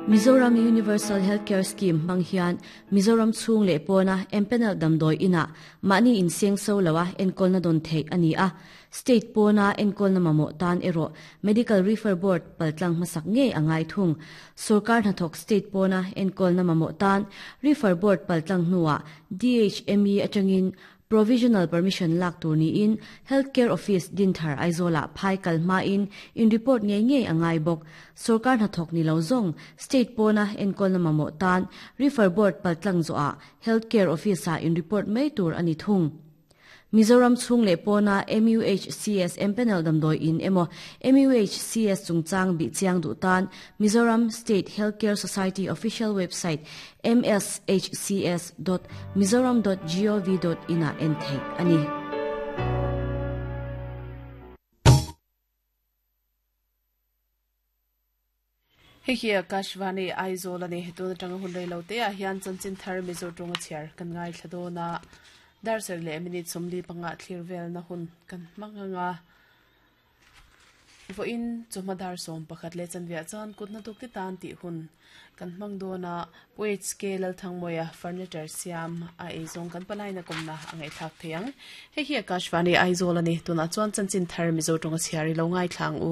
Mizoram Universal Healthcare Scheme hmang hian Mizoram chhung leh pawna empanel damdawi inah mahni inseng so loa enkawlna dawn theih a ni a. State pawna enkawlna mamawh tan erawh Medical Refer Board paltlang hmasak ngei a ngai thung. Sorkar hnathawk state pawna enkawlna mamawh tan Refer Board paltlang hnuah DHME atangin Provisional permission lak tur niin Health Care Office Dinthar Aizawlah phai kal hmain in report ngei ngei a ngai bawk. Sorkar hnathawk ni lo zawng State pawna enkawlna mamawh tan Refer Board paltlang zawhah Health Care Office-ah in report mai tur a ni thung. Mizoram chhung leh pawna MUHCS empanel damdawi in emaw MUHCS chungchang bih chiang duh tan Mizoram State Health Care Society official website mshcs dot mizoram dot gov dot in ah en theih a ni. Hei hi Akashvani Aizawl a ni. Tun atanga hun rei lo te ah hian chanchin thar Mizo tawnga chhiar kan ngaithla dawn a. Dar sarih leh minute 45 thlir velna hun kan hmang ang a. Vawiin chawhma dar 11 leh chanveah chuan kut hnathawk te tan tih hun kan hmang dawn a, Pu HK Lalthangmawia furniture siam a eizawng kan palaina kawmna a ngaihthlak thei ang. Hei hi Akashvani Aizawl a ni, tunah chuan chanchin thar Mizo tawnga chhiar i lo ngaithla ang u.